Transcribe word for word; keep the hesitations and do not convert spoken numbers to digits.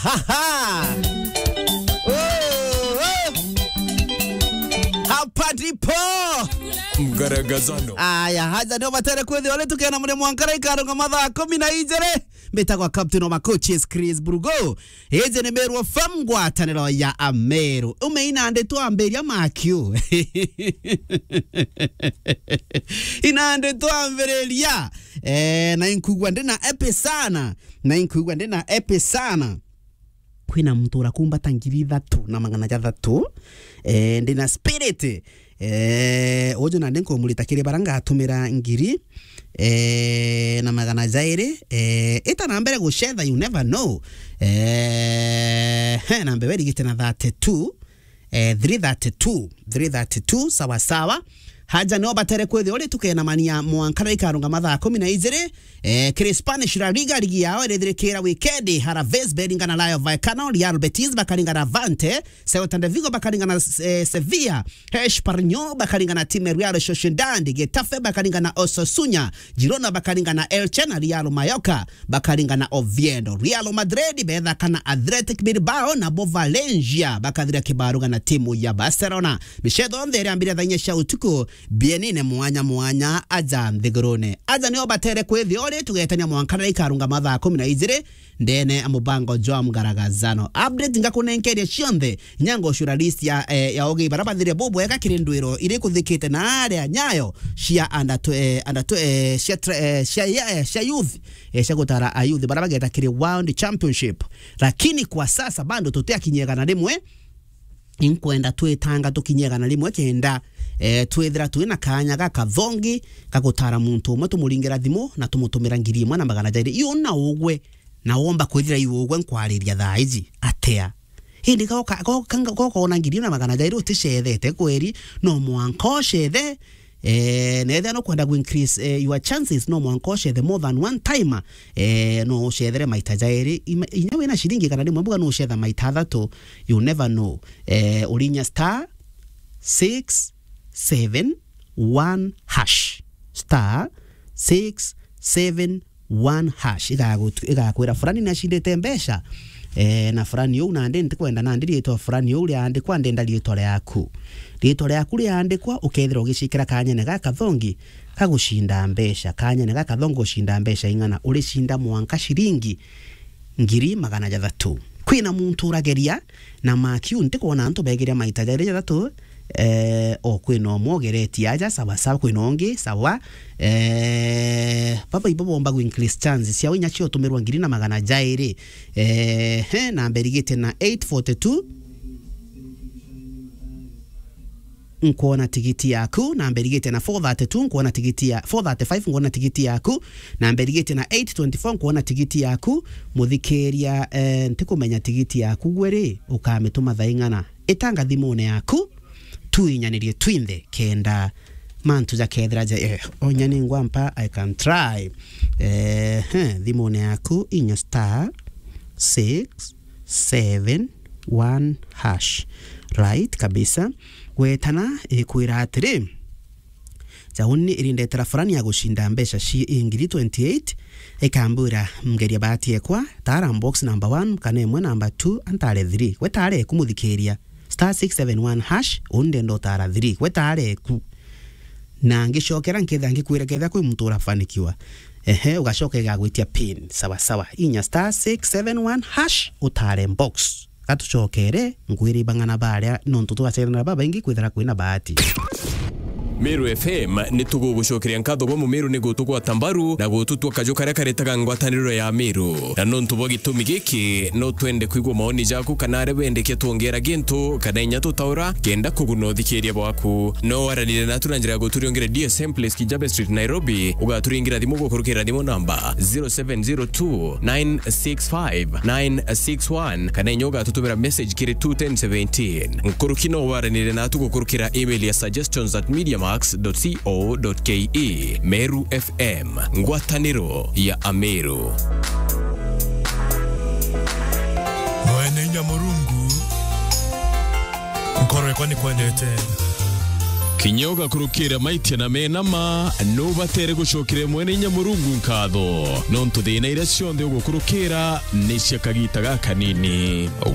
Aha! Oh, oh! Hapa ndipo! Mgaragazano. Aya, haja nio batere kwithirwa ri tukena muri mwankara ikarunga mathaa kumi na ijiri. Mbitagwa Captain wa Macoaches, Chris Brugo. Iji ni Meru F M, ngwataniro ya Ameru. Ume inandi twambiria makiu. Inandi twambiriria. Eh, na inkuigua ndina epi sana. Na inkuigua ndina epi sana. Kwina muntu urakumbata ngiri ithatu na magana jathatu. Eh, ndina spirit. Eh, uju nandi nkumurita kiri bara ngatumira ngiri, eh, na magana jairi. Eh, ita na mbere gucetha, you never know. Eh, he, na mbere irigite na thirty-two, eh, three thirty-two, three thirty-two, sawa sawa. Haja nio batere kwithirwa ri tukenamania mwankara ikarunga mathaa kumi na ijiri. Eh, kiri Spanish La Liga, ligi yao irithirikira wikendi, Alaves baringana Rayo Vallecano, Real Betis bakaringana Levante, Celta de Vigo bakaringana, eh, Sevilla, Espanyol bakaringana timu ya Real Sociedad, Getafe bakaringana Osasuna, Girona bakaringana Elche, na Real Mallorca bakaringana Oviedo. Real Madrid bethakana Athletic Bilbao, nabo Valencia bakathira kibaruga na timu ya Barcelona. Micetho yonthe iriambiria thaa inya cia utuku, bienine mwanya mwanya aja nthigurune. Aja nio batere kwithirwa ri tugetania mwankara ikarunga mathaa kumi na ijiri, ndene ya mubango jwa mgaragazano. Update ngakunenkeria cionthe, inya ngocuura list ya, eh, ya ugi bara bathire bubwega kiri ndwiro iri kuthikite na aria nyayo cia under tw-, eh, under tw-, eh, cia tra-, eh, cia, eh, cia youth, eh, cia gutara a youth bara bageta kiri World Championship. Lakini kwa sasa bado tutiakinyia igana rimwe, inkwenda twitanga tukinye igana rimwe kenda, eh, twithira twina kaanya gakathongi ga gutara muntu umwe, tumuringira thimu na tumutumira ngiri imwe na magana jairi. Iyo na ugwe, na womba kwithira iu ugwe nkwariria thaa iji atia? Indi goka, goka, goka ona ngiri na magana jairi uticethete kweri, no mwanka ucethe. Eh, na ethia no kwenda ku increase, eh, your chances, no mwanka ucethe more than one time. Eh, no ucethere maita jairi. Ima-, inya wina ciringi kana rimwe mbuga no ucetha maita athatu, you never know. Eh, urinya star six seven one hash. Star six seven one hash. Igagutu-, igakwira fulani ni acindite mbeca. Eh, na fulani uu nandi ntikwenda nandi riitwa fulani uu riandikwa, ndenda riitwa riaku. Riitwa riaku riandikwa, ukethira ugicikira kanyene gakathongi ka gucinda mbeca. Kanyene gakathongi gucinda mbeca ing'ana? Uricinda mwanka ciringi ngiri magana jathatu. Kwina muntu urageria na makiu, ntikwona antu begiria maita jairi jathatu, eh, o kwina umwe ugeretie aja, sawa sawa, kwina ungi, sawa. Eh, baba ibo bomba ku increase chance ciao inya cio utumirwa ngiri na magana jairi. Eh, he, namba irigite na eight forty-two. Nkwona tigiti yaku, namba irigite na four thirty-two, nkwona tigiti ya, four thirty-five, nkwona tigiti yaku, namba irigite na eight twenty-four, nkwona tigiti yaku. Muthikiria, eh, ntikumenya tigiti yaku gwe ri, ukamituma thaa ing'ana? Itanga thimune yaku, tuinyanirie twinthe kenda mantu jakethira ja, eh, onya ni ngwampa, I can try. Eh, he, thimune yaku inya star six seven one hash. Right kabisa. Gwetana ikwira atiri, jauni irindetera fulani ya gucinda mbeca ci ngiri twenty-eight, ikambwira, ngeria bahati ekwa, tara box number one, kana imwe number two, antare three. Gwe tara eku muthikiria. Star six seven one hash, uni ndenda utara three. Gwe tara eku. Na ngicokera nketha ngikwira ketha kwi muntu urafanikiwa. Ehe, ugacoka igagwitia pin. Sawa sawa. Inya star six seven one hash, utare box. Gatucokere, nkwire ibang'ana baria, nontu twacerana babaingi kwithira kwina bahati. Meru F M ni tugugucokeria nkatho bwa Mumeru ni gutugwata mbaru na gututua kaju karia karetaga ngwataniro ya Meru. Na nontu bwa gitumi giki, no twende kwigua maoni jaku kana aria wendekia twongera gintu kana inya tutaura kenda kuguna uthikiria bwaku. No waranire natu na njira ya guturiongera D S M Place, Kijabe Street, Nairobi, ugaturingira thimu gukurukira thimu namba zero seven zero two nine six five nine six one, kana inya ugatutumira message kiri two ten seventeen. Nkuruki no waranire natu gukurukira email ya suggestions at mediamax dot co dot ke. Meru F M, ngwataniro ya Ameru. Mwene inya Murungu, nkoro yakwa nikwendete. Kinya ugakurukira maitia na mena ma, nubatere gucokeria Mwene Inya Murungu nkatho, nontu thina iria cionthe ugukurukira ni cia kagiita gakanini.